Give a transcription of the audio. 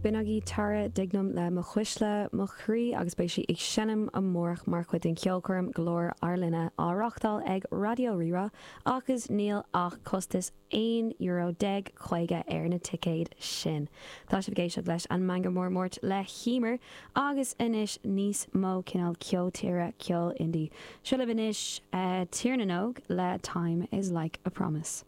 B'in agaibh Tara Dignam le Mo Chuisle, Mo Chroí agus beidh sí ag seinm amárach mar chuid den cheolchoirm Glór ár Linne á reáchtáil ag Raidió Rí-Rá agus níl ach costas €11.50 ar na ticéid sin. Tá sibh ag éisteacht leis an Meangadh Mór Máirt le hEmer agus anois níos mó cineál ceol tíre, ceol indie. Seo libh anois Tír na nÓg le Time is Like a Promise.